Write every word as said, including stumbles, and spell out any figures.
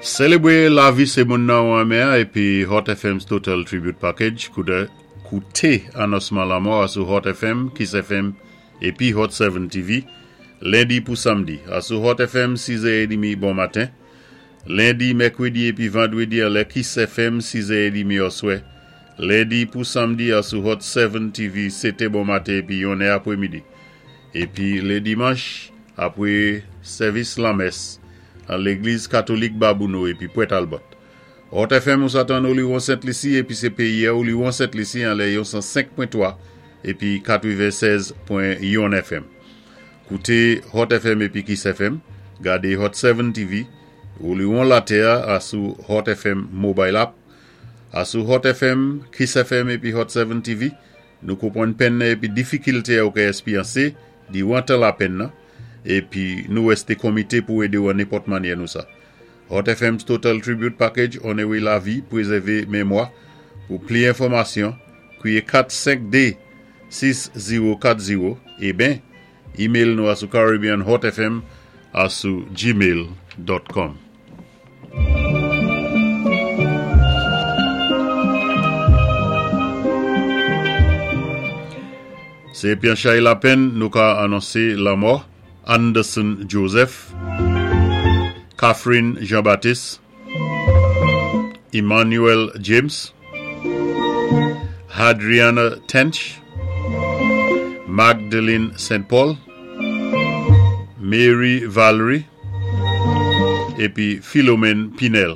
Sélébwé lavi sé moun nan ou renmen épi Hot F M's Total Tribute Package kouté anonsman lanmò sou Hot F M, Kiss F M épi Hot sept T V lendi pou samdi. Asou Hot F M sis è trant bon maten. Lendi, mèkwédi épi vandwédi an lè Kiss F M sis è trant oswè. Lendi pou samdi asou Hot sept T V sèt è bon maten épi yon è apwé midi. Épi lé dimanch apwé sèvis lanmès an légliz katolik Babouno épi Pwèt Albert. Hot F M ou sa tann Oliwon Sent Lisi épi sé péyi Oliwon Sent Lisi an lè san senk pwen twa épi katwennsèz pwen yon F M. Kouté Hot F M épi Kiss F M, gadé Hot sept T V, Oliwon Latè asou Hot F M Mobile App, asou Hot F M, Kiss F M épi Hot sept T V, nou konpwann penn épi difikilté ou ka èspéryansé, diwan tan lapenn nan, épi nou wèsté komité pou édé ou an nenpòt mannyè nou sa. Hot F M's Total Tribute Package, onowé lavi, pwézèvé mémwa. Pou pli enfòmasyon, kwiyé kat senk dé sis zewo kat zewo é ben, email nou asou caribbeanhotfm asou gmail dot com. Sé pi an chay lapenn nou ka anonsé lanmò Anderson Joseph, Catherine Jean-Baptiste, Emmanuel James, Adriana Tench, Magdalene Saint Paul, Mary Valerie, épi Philomène Pinel.